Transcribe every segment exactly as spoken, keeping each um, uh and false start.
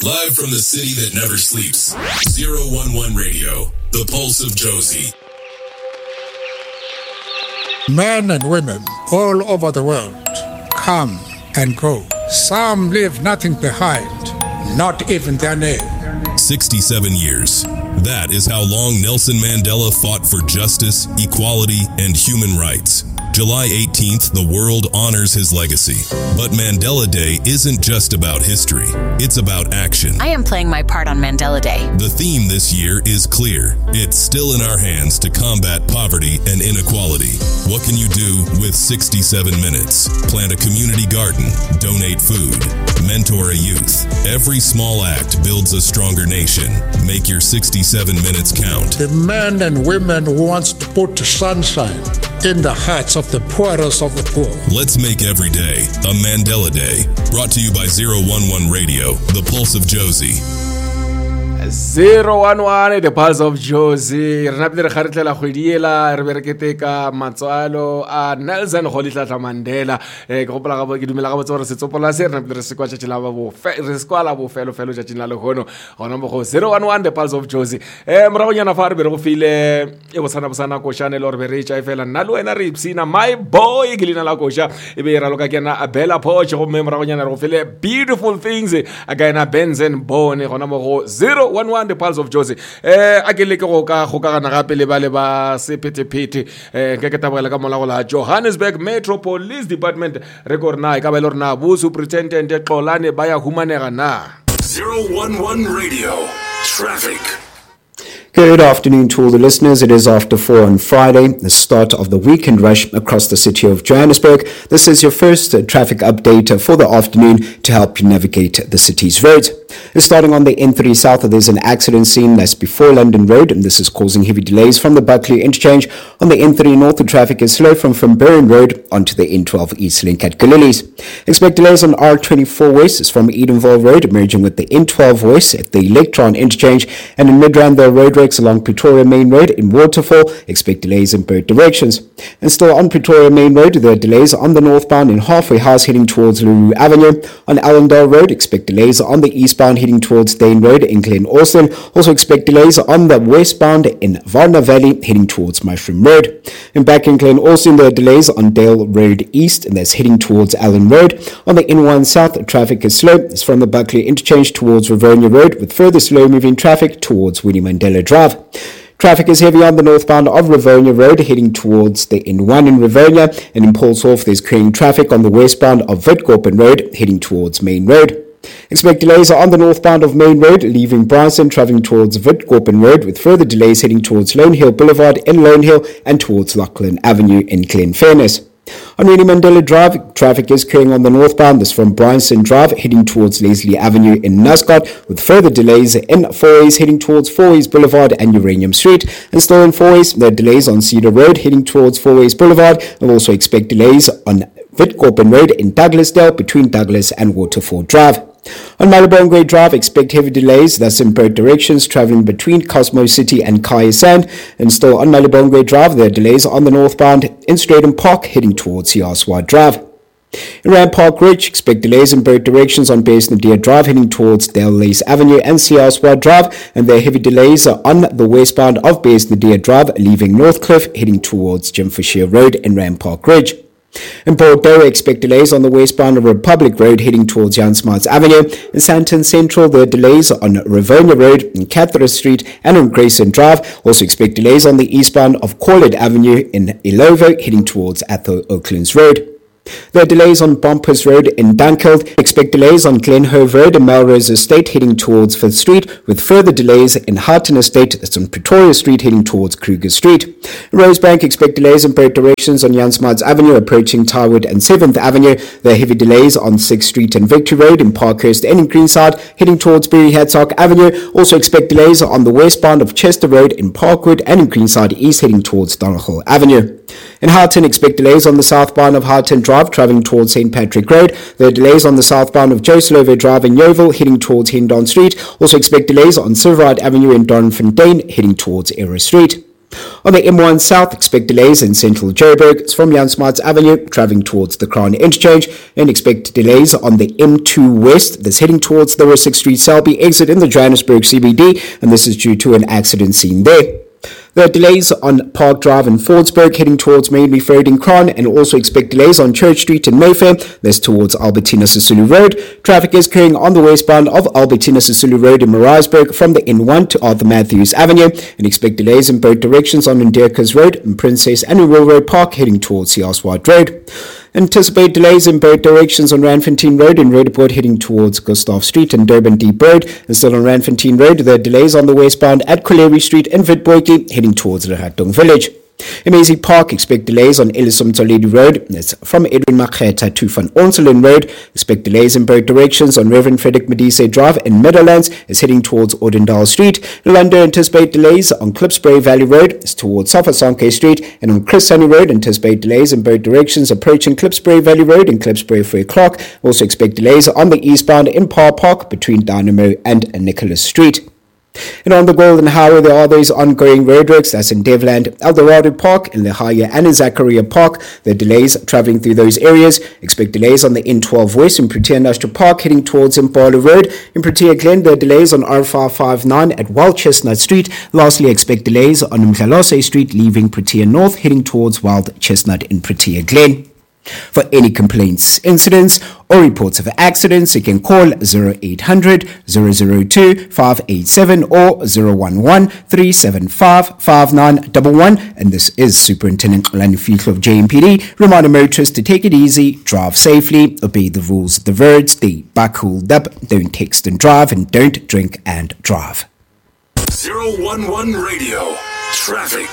Live from the city that never sleeps. zero one one Radio, the pulse of Jozi. Men and women all over the world come and go. Some leave nothing behind, not even their name. sixty-seven years. That is how long Nelson Mandela fought for justice, equality, and human rights. July eighteenth, the world honors his legacy. But Mandela Day isn't just about history. It's about action. I am playing my part on Mandela Day. The theme this year is clear. It's still in our hands to combat poverty and inequality. What can you do with sixty-seven minutes? Plant a community garden, donate food, mentor a youth. Every small act builds a stronger nation. Make your sixty-seven minutes count. The men and women who wants to put sunshine in the hearts of the poorest of the poor. Let's make every day a Mandela Day. Brought to you by zero one one Radio, the pulse of Jozi. zero one one, the pulse of Jozi. Re napile re kgaretlela kgwedi ela, re be re keteka matswalo a Nelson Rolihlahla Mandela. Eh, ke gopola gabo, ke dumela gabotse gore setsopola se re napile re se kwa tšatši la bofe-, re se kwa la bofelofelo tšatšing la lehono. Gona mo go zero one one, the pulse of Jozi. Eh, moragonyana fa re be re go file e bosana bosana košane le gore be re e tša e fela. Nna le wena re ipshina, my boy ke leina la koša, e be e raloka ke yena Bella Poarch. Gomme moragonyana re go file Beautiful Things a ka yena Benson Bone. Gona mo go zero one one, the pulse of Jozi. Eh, a ke leke go ka kgokagana gape le ba le ba sephethephethe. Eh, nke ke tabogela ka mola go la Johannesburg Metro Police Department. Re ko re na e ka ba e le gore na bo Superintendent Xolane ba ya humanega na? zero one one Radio Traffic. Good afternoon to all the listeners. It is after four on Friday, the start of the weekend rush across the city of Johannesburg. This is your first, uh, traffic update, uh, for the afternoon to help you navigate the city's roads. Starting on the N three south, there's an accident scene that's before London Road, and this is causing heavy delays from the Buccleuch interchange. On the N three north, the traffic is slow from Van Road onto the N twelve East Link at Gillooly's. Expect delays on R twenty-four West, it's from Edenvale Road, merging with the N twelve West at the Electron interchange, and in Midrand, there are roadworks along Pretoria Main Road in Waterfall. Expect delays in both directions. And still on Pretoria Main Road, there are delays on the northbound in Halfway House heading towards Le Roux Avenue. On Allendale Road, expect delays on the eastbound heading towards Dane Road in Glen Austin. Also expect delays on the westbound in Varna Valley heading towards Mushroom Road. And back in Glen Austin, there are delays on Dale Road East, and that's heading towards Allen Road. On the N one South, traffic is slow. It's from the Buccleuch interchange towards Rivonia Road, with further slow-moving traffic towards Winnie Mandela Drive. Traffic is heavy on the northbound of Rivonia Road, heading towards the N one in Rivonia, and in Paulshof, there's queuing traffic on the westbound of Witkoppen Road, heading towards Main Road. Expect delays on the northbound of Main Road, leaving Bryanston, travelling towards Witkoppen Road, with further delays heading towards Lone Hill Boulevard in Lone Hill and towards Lachlan Avenue in Glenfairness. On Winnie Mandela Drive, traffic is queuing on the northbound. This from Bryanston Drive, heading towards Leslie Avenue in Nascot, with further delays in Fourways, heading towards Fourways Boulevard and Uranium Street. And still in Fourways, there are delays on Cedar Road, heading towards Fourways Boulevard, and also expect delays on Witkoppen Road in Douglasdale, between Douglas and Waterfall Drive. On Malibongwe Drive, expect heavy delays, that's in both directions, travelling between Cosmo City and Kya Sand. And still on Malibongwe Drive, there are delays on the northbound in Strijdom Park, heading towards Siaswa Drive. In Randpark Ridge, expect delays in both directions on Beyers Naudé Drive, heading towards Dale Lace Avenue and Siaswa Drive, and there are heavy delays on the westbound of Beyers Naudé Drive, leaving Northcliff, heading towards Jim Foschier Road in Randpark Ridge. In Bordeaux, expect delays on the westbound of Republic Road heading towards Jan Smuts Avenue. In Sandton Central, there are delays on Rivonia Road, in Catherine Street and on Grayson Drive. Also expect delays on the eastbound of Corlett Avenue in Illovo heading towards Atholl Oaklands Road. There are delays on Bompas Road in Dunkeld. Expect delays on Glenhove Road and Melrose Estate heading towards Fifth Street, with further delays in Houghton Estate, that's on Pretoria Street, heading towards Kruger Street. In Rosebank, expect delays in both directions on Jan Smuts Avenue, approaching Tyrwood and seventh Avenue. There are heavy delays on sixth Street and Victory Road in Parkhurst and in Greenside, heading towards Barry Hertzog Avenue. Also expect delays on the westbound of Chester Road in Parkwood and in Greenside East, heading towards Donoughall Avenue. In Houghton, expect delays on the southbound of Houghton Drive, travelling towards Saint Patrick Road. There are delays on the southbound of Joe Slovo Drive in Yeoville, heading towards Hendon Street. Also expect delays on Silverite Avenue in Doornfontein, heading towards Era Street. On the M one South, expect delays in central Joburg. It's from Jan Smuts Avenue, travelling towards the Crown Interchange, and expect delays on the M two West, that's heading towards the Rissik Street Selby exit in the Johannesburg C B D, and this is due to an accident seen there. There are delays on Park Drive in Fordsburg heading towards Main Reef Road in Crown, and also expect delays on Church Street in Mayfair, that's towards Albertina Sisulu Road. Traffic is carrying on the westbound of Albertina Sisulu Road in Maritzburg from the N one to Arthur Matthews Avenue, and expect delays in both directions on Ndirkas Road and Princess and Railroad Park heading towards C R Swart Road. Anticipate delays in both directions on Randfontein Road and Roodepoort heading towards Gustav Street and Durban Deep Road. And still on Randfontein Road, there are delays on the westbound at Colerie Street and Witboertjie heading towards Leratong Village. In Maisie Park, expect delays on Ellis Motsoaledi Road. That's from Edwin Makgetha to Van Onselen Road. Expect delays in both directions on Reverend Frederick Modise Drive in Meadowlands. It's heading towards Ordendal Street. Lando, anticipate delays on Klipspruit Valley Road. It's towards Sofasonke Street. And on Chris Hani Road, anticipate delays in both directions approaching Klipspruit Valley Road and Klipspruit Free Clark. Also expect delays on the eastbound in Parr Park between Dynamo and Nicholas Street. And on the Golden Highway, there are those ongoing roadworks. That's in Devland, Eldorado Park, in Lehaya and in Zakaria Park. The delays traveling through those areas. Expect delays on the N twelve West in Protea Industrial Park heading towards Impala Road. In Protea Glen, there are delays on R five five nine at Wild Chestnut Street. Lastly, expect delays on Mdlalose Street leaving Protea North heading towards Wild Chestnut in Protea Glen. For any complaints, incidents, or reports of accidents, you can call zero eight hundred, zero zero two, five eight seven or zero one one, three seven five, five nine one one. And this is Superintendent Xolani Fihlo of J M P D. Reminder motorists to take it easy, drive safely, obey the rules of the roads, stay buckled up, don't text and drive, and don't drink and drive. zero one one Radio Traffic.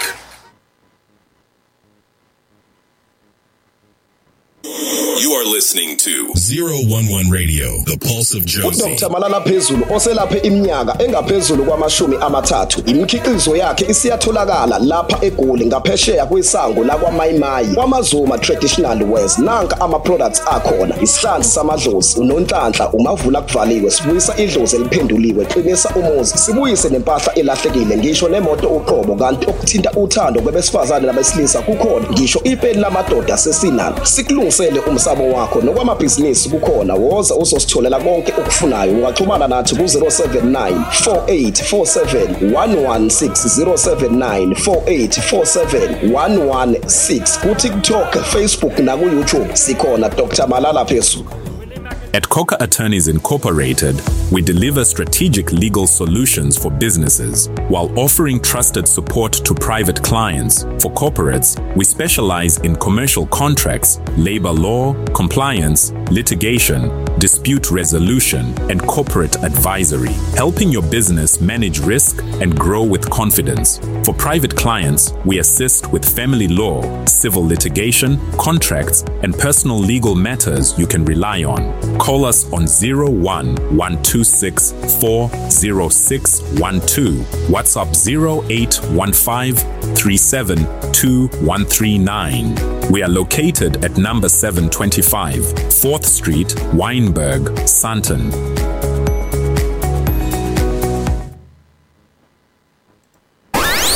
You are listening to zero one one Radio, the pulse of Jozi. Doctor Malala Phezulu oselaphe iminyaka engaphezulu kwamashumi amathathu. Imikhiqizo yakhe isiyatholakala lapha eGoli ngaphesheya kwesango lakwaMayimayi. KwaMazuma Traditional Wears nanka ama products akhona. Isihlanzi samadlozi, unonhlanhla, umavula kuvaliwe, sibuyisa idlozi eliphenduliwe, qinisa umuzi, sibuyise nempahla elahlekile, ngisho nemoto uqobo, kanti okuthinta uthando kwebesifazane nabesilisa kukhona, ngisho ipeni lamadoda sesinalo. Sikulungisele umsamo wakho nokwamabhizinisi kukhona. Woza uzositholela konke okufunayo. Ungaxhumana nathi ku zero seven nine, four eight four seven, one one six, zero seven nine, four eight four seven, one one six. Ku TikTok, Facebook na ku YouTube sikhona. Doctor Malala Phezulu. At Coca Attorneys Incorporated, we deliver strategic legal solutions for businesses while offering trusted support to private clients. For corporates, we specialize in commercial contracts, labor law, compliance, litigation, dispute resolution, and corporate advisory, helping your business manage risk and grow with confidence. For private clients, we assist with family law, civil litigation, contracts, and personal legal matters you can rely on. Call us on zero one, one two six, four zero six one two, WhatsApp zero eight one five, three seven two one three nine. We are located at number seven twenty-five, fourth Street, Wynberg, Sandton.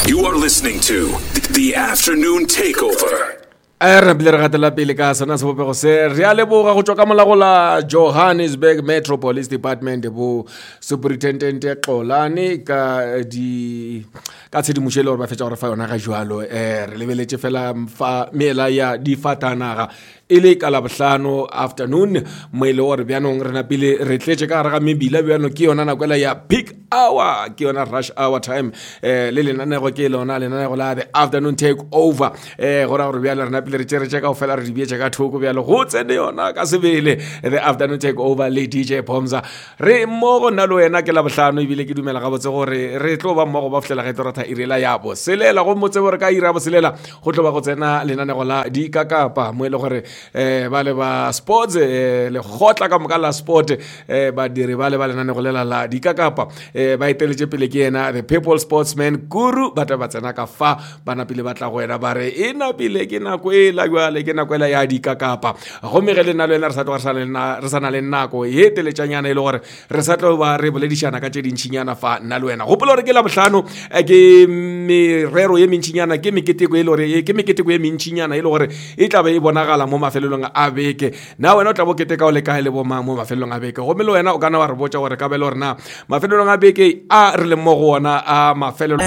You are listening to The Afternoon Takeover. A re bile re gatela pele ka sona sebopego se re a leboga go tswa ka molago la Johannesburg Metro Police Department bo Superintendent Xolani ka di ka tshedimošo e le gore ba fetša gore fa yona ga jwalo. Eh re lebeletše fela fa meela ya difatanaga e le ka Labohlano afternoon mo e le gore bjanong re napile re tletše ka gare ga mebila bjano ke yona nako ela ya peak hour, ke yona rush hour time. Eh le lenanego ke lona lenanego la the afternoon take over. Eh go ra gore bjale re napile re tšere tše kaofela re di beetše ka thoko bjalo go tsene yona ka sebele the afternoon take over le D J Pomza. Re mmogo nna le wena ke Labohlano ebile ke dumela gabotse gore re tlo ba mmogo ba fihlela ge tlo ratha iri la ya boselela go motse gore ka iri ya boselela go tlo ba go tsena lenanego la dikakapa mo e le gore um ba le ba sports um lekgotla ka moka la sport um badiri ba le ba lenanego lela la dikakapa um ba eteletše pele ke yena the people sportsman guru ba tla ba tsena ka fa ba napile ba tla go wena ba re e napile ke nako e la jale ke nako ela ya dikakapa gomme ge le nna le wena re sa tloga re sa le na- re sa na le nako ye teletšanyana e le gore re sa tlo ba re boledišana ka tše dintšhinyana fa nna le wena gopola gore ke labohlano eh, ke merero ye mentšinyana ke meketeko e le gore ke meketeko ye mentšinyana e le gore e tla be e bonagala mo mafelelong a beke na wena o tla bo keteka o le kae le bomang mo mafelelong a beke gomme le wena o kana wa re botša gore ka be le gore na mafelelong a beke a re leng mo go ona a mafelelo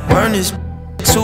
Burn this